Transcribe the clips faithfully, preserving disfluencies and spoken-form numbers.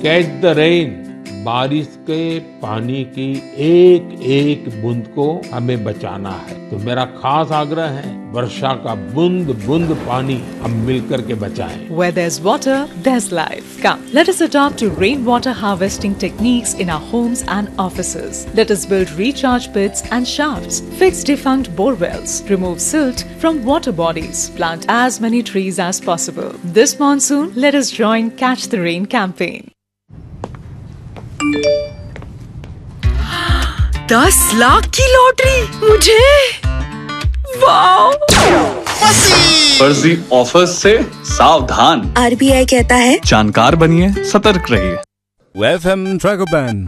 Catch the rain, बारिश के पानी की एक एक बूंद को हमें बचाना है। तो मेरा खास आग्रह है, वर्षा का बूंद बूंद पानी हम मिलकर के बचाएं। Where there's water, there's life. Come, let us adopt to rainwater harvesting techniques in our homes and offices. Let us build recharge pits and shafts, fix defunct bore wells, remove silt from water bodies, plant as many trees as possible. This monsoon, let us join Catch the Rain campaign. दस लाख की लॉटरी मुझे। वाओ। फर्जी ऑफर्स से सावधान। आरबीआई कहता है, जानकार बनिए, सतर्क रहिए। F M Tragopan.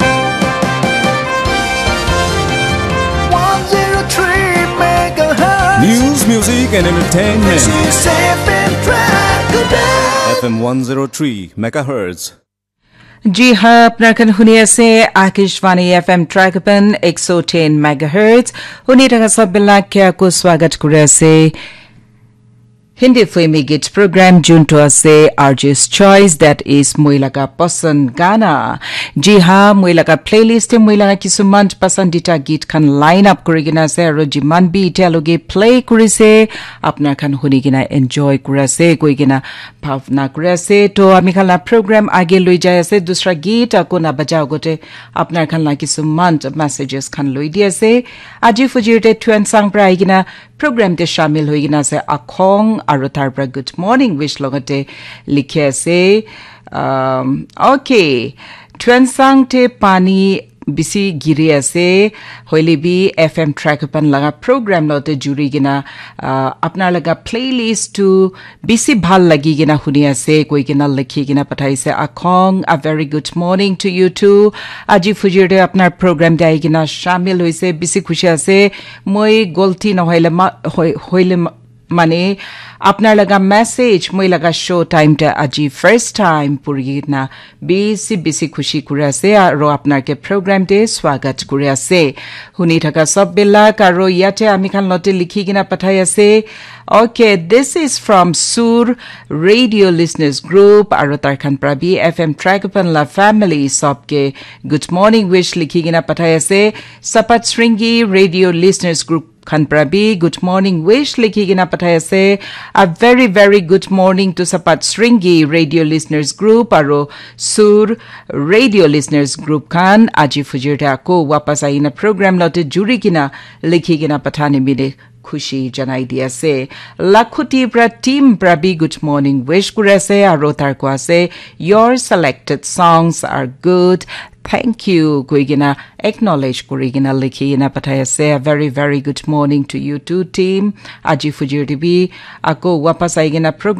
One zero three megahertz. News, music and entertainment. This is F M Tragopan. F M one zero three megahertz. Ji ha, apnar khan huni ase Akashvani F M Tragopan ek so ten megahertz. Huni thaka sab bilak ke aku swagat kuri ase. Hindi filmi git program juntu ase R J's Choice, that is moi laga pasan gana. Ji ha, moi laga playlist te moi laga kisuman pasandita git khan line up kuri kena ase, aru jiman bi itya loge play kuri se, apnar khan huni kena enjoy kuri ase, koi kena bhavna kuri ase. To ami khan la program age loi jai ase, dusra git ako na baja agote apnar khan la kisuman messages khan loi di ase. Aji fujir te Tuensang pra ahi kena program te shamil hoi kena ase Akhong, aru tar pra good morning wish logate likhi ase. Um, okay, Tuensang te pani bisi giri ase, hoile bi F M Tragopan laga program lote juri kena, uh, apnar laga playlist tu bisi bhal lagi kena huni ase koi kena likhi kena pathaise Akhong. A very good morning to you too. Aji fujir te apnar program te ahi kena shamil hoise, bisi khushi ase. Moi golti nohoile ma, hoi-, hoile ma, mane apnar laga message moi laga show time te aji first time puri kena bisi bisi khushi kuri ase, aru apnar ke program te swagat kuri ase. Huni thaka sab bilak, aru yate ami khan lote likhi kena pathai ase. Okay, this is from Sur Radio Listeners Group, aru tar khan pra bi F M Tragopan la family sab ke good morning wish likhi kena pathai ase. Sapat Sringi Radio Listeners Group khan pra bi good morning wish likhi kena pathai ase. A very, very good morning to Sapat Sringi Radio Listeners Group aru Sur Radio Listeners Group khan. Aji fujir te ako wapas aina program lote juri kena likhi kena pathani mile khushi janai di ase. Lakhuti pra team pra bi good morning wish kuri ase aru tar ko ase, your selected songs are good. Thank you koi kena acknowledge kuri kena likhi kena pathai ase. A very, very good morning to you too, team. Aji fujir te bi ako wapas ahi kena program